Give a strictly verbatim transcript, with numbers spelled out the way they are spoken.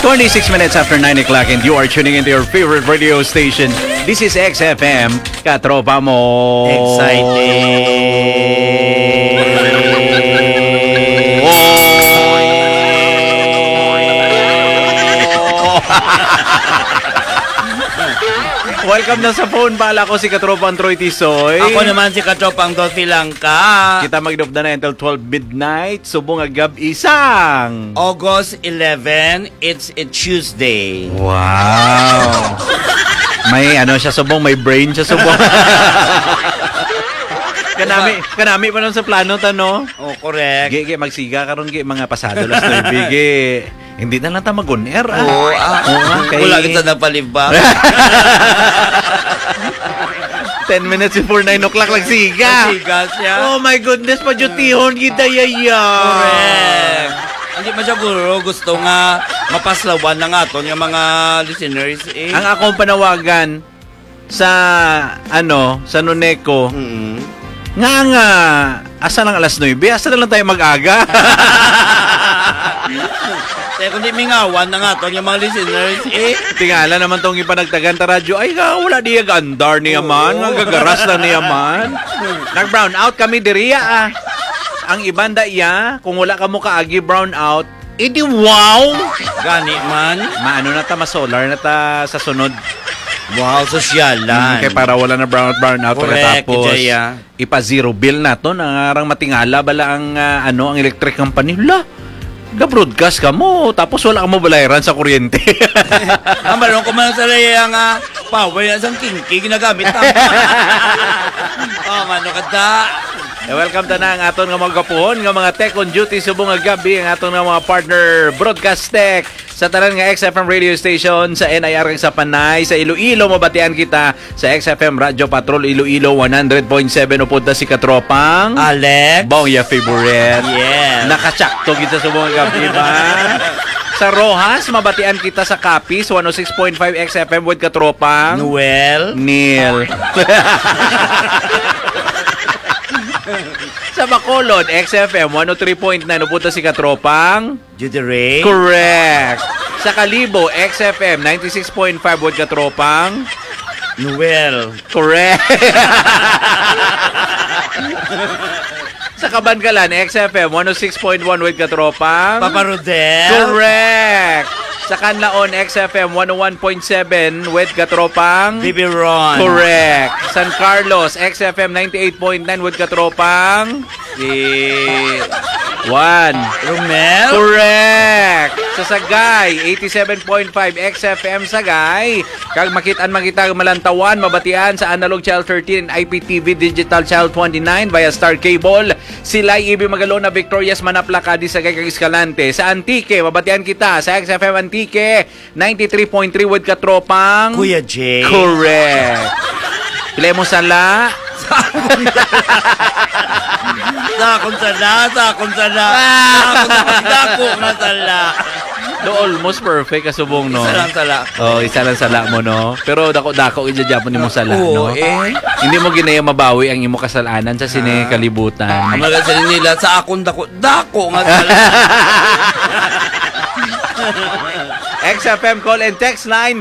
Twenty-six minutes after nine o'clock, and you are tuning into your favorite radio station. This is X F M, Katropa Mo. Exciting. Welcome na sa phone pala ko, si Katropang Troy Tisoy. Ako naman si Katropang Dothy Langka. Kita magdupda na until twelve midnight, subong nga gab-i sang August eleven, it's a Tuesday. Wow. May ano siya subong, may brain siya subong. Kanami, kanami pa lang sa plano ta, no? Oh, correct. Gi, gi, magsiga karon, gi, mga pasado las nuebe, gi. Hindi na lang ta mag-on air, ah. Oo, ah. Oo, ah, kay Wala kita napalibak. Ten minutes before nine o'clock, nagsiga. Nagsiga siya. Oh my goodness, padyutihon kita, yaya. Correct. Hindi man siya guro, gusto nga mapaslawan ng aton nga mga listeners, eh. Ang akong panawagan sa, ano, sa Noneco, Mm. nga, nga, asa lang alas nuebe, asa na lang tayo mag-aga? Kaya kung di mingawan na nga to, yung mga listeners, eh. Tingala naman tong ipanagtagan ta radyo, ay, nga, wala di andar niya Oo. man, nga gagaras lang niya man. Nag-brown out kami diriya, ah. Ang ibanda iya, kung wala ka mo kaagi brown out, edi wow! Gani man. Maano na ta, ma-solar na ta sa sunod. Wow, sosyalan. Mm, kay para wala na brown out, brown out. Correct, pagkatapos, Jaya. Ipa-zero bill naton, ang arang matingala bala ang, ah, ano, ang electric company. La, ga-broadcast ka mo, tapos wala ka mo balayran sa kuryente. Ang balong ko man sa laya nga power na sang kingki ginagamit na. Oh, mano ka da. Eh, welcome ta na ang aton nga mga kapuhon nga mga tech on duty subong nga gabi, ang aton nga mga partner Broadcast Tech sa tanan nga X F M radio station sa N I R kag sa Panay. Sa Iloilo, mabatian kita sa X F M Radio Patrol Iloilo one hundred point seven. Upod na si Katropang Alex. Bongya favorite. Yes. Nakasakto kita sa mga gabi ba? Sa Roxas, mabatian kita sa Capiz one oh six point five X F M with Katropang Noel. Neil. Sa Bacolod, X F M one oh three point nine. Upod na si Katropang Judy Ray. Correct. Sa Kalibo, X F M ninety-six point five with Katropang Noel. Correct. Sa Kabankalan, X F M one oh six point one with Katropang Papa Rodel. Correct. Sa Canlaon, X F M one oh one point seven with Katropang Bibi Ron. Correct. San Carlos, X F M ninety-eight point nine with Katropang Si Juan. Romel? Correct! Sa Sagay, eighty-seven point five X F M Sagay. Kag makit-an man kita malantawan, mabatian sa Analog Channel thirteen and I P T V Digital Channel twenty-nine via Star Cable. Silay, Ibi Magalona, Victorias, Manap, Lacadi, Sagay, kag Escalante. Sa Antique, mabatian kita sa X F M Antique, ninety-three point three with Katropang Kuya J. Correct. Pila mo sala? Sa akong sala, sa akong sala. Sa akong sala, dako nga sala. Do, almost perfect ka subong, no? Isa lang sala. Oh, isa lang sala mo, no? Pero dako-dako gid gyapon nimo sala, Oo, no? eh. Hindi mo ginaya mabawi ang imo kasalanan sa sini Ah. kalibutan. Ang mga sala nila, sa akong dako-dako nga sala. X F M call and text line